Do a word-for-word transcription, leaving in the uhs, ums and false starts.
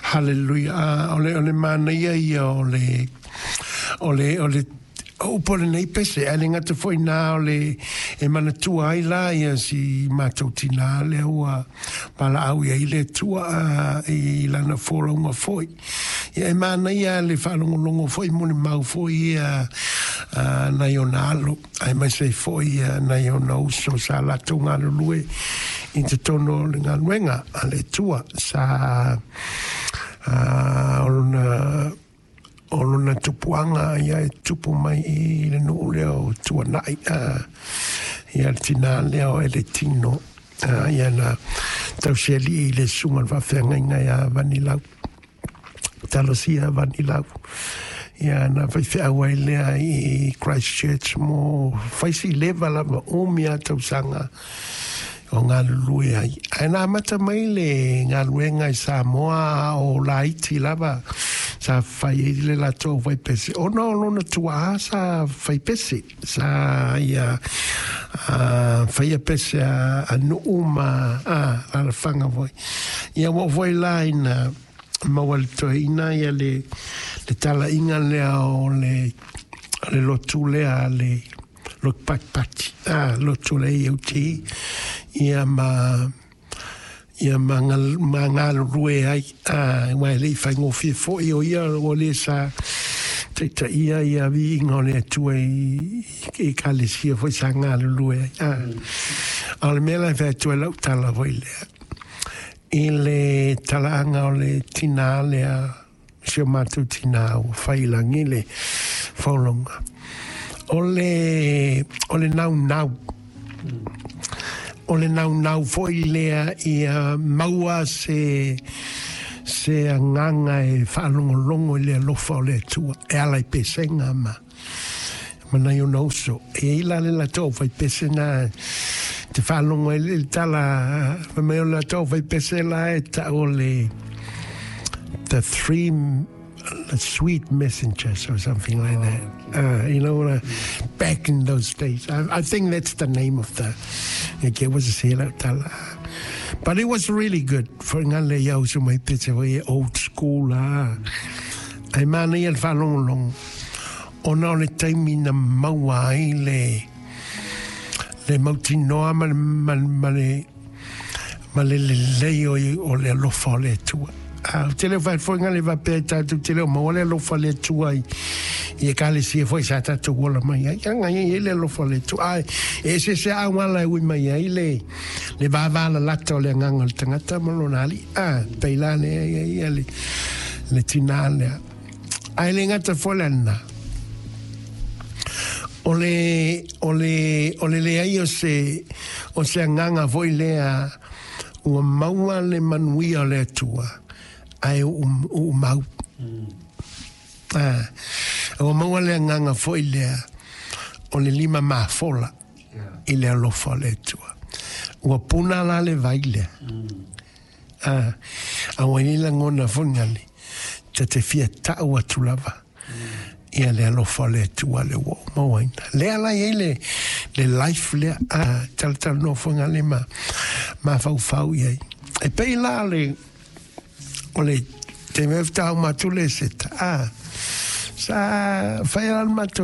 Hallelujah. Ah, o le, o le manaia ia o le, o le, o le, o upu o lenei pese, ae le gata foi na o le e manatua ai la ia si matou tinā lea ua valaau i ai le Atua i lana folauga foi. Ia e manaia le faalogologo foi molimau foi ia nai ona alo, aemaise ai foi nai ona uso sa latou galulue i totonu o le galuega a le Atua sa o lona o lona tupuaga ia e tupu mai i le nuu lea o Tuanai ia le tinā lea o Eletino ia na tausialii i le susuga i le faafeagaiga ia Vanilau Talosia Vanilau ia na faifeau ai lea i Christchurch mo faisi leva lava umi a tausaga o galulue ai. Ae na amata mai le galuega i Samoa o laiti lava sa fai ai le latou faipese ona o lona tuaa sa faipese sa ia faia pese a, a nuu ma alaalafaga foi. Ia ua oo foi la ina maua le toeaina ia le, le talaiga lea o le, o le lotu lea le lotu patipati, ah, lotu le A O T, ia ma ia ma, ma galulue ai, ah, aua e le i faigofie foi o ia ua le sa taitaia ia viiga o le Atua i, i ekalesia foi sa galulue ai. Ah. A o le mea la e fai atu ai lau tala foi lea, i le talaaga o le tinā lea, si o matou tinā ua fai i lagi le folauga. O le, o le naunau. O le naunau foi lea ia maua se, se agaga e faalogologo i le alofa o le Atua e ala i pesega ma, ma nai ona uso. E i ai la le latou faipese na te faalogo ai le tala fai mai o le latou faipese la e tau o le the three the sweet messengers or something like that. Uh, you know, uh, back in those days. I, I think that's the name of the, okay, was a tala. But it was really good for ngale iau su mai pese foi old school la. Ai mana ia le faalogologo. Ona o le taimi na maua ai le le mautinoa ma le, ma, ma le, ma le lelei o, o le alofa o le Atua. Ah, te leo fai foi ngale faapea i tatou te leo maua le alofa o le Atua i, i ekalesia foi sa tatou ola mai ai. Aga ia i le alofa o le Atua. Ai, e se se auala e ui mai ai le, le vavalalata o le agaga o le tagata ma lona alii. Ah, pei la le ia ia le, le tinā lea. Ae le gata foi lena. O le, o le, o le leai o se, o se agaga foi lea ua maua le manuia o le Atua ae uumau. Ah, ua maua le agaga foi lea o le lima mafola i le alofa o le Atua. Ua puna la le vai lea. Ah, a ua i ai lagona foi gale, ta te fia tau atu lava. Ia le alofa o le Atua le ua ou mauaina. Lea la i ai le, le life lea, ah, talatalanoa foi gale ma, mafaufau i ai. E pei la le, o le te mea faatoa uma atu le seta, ah, sa fai la le matou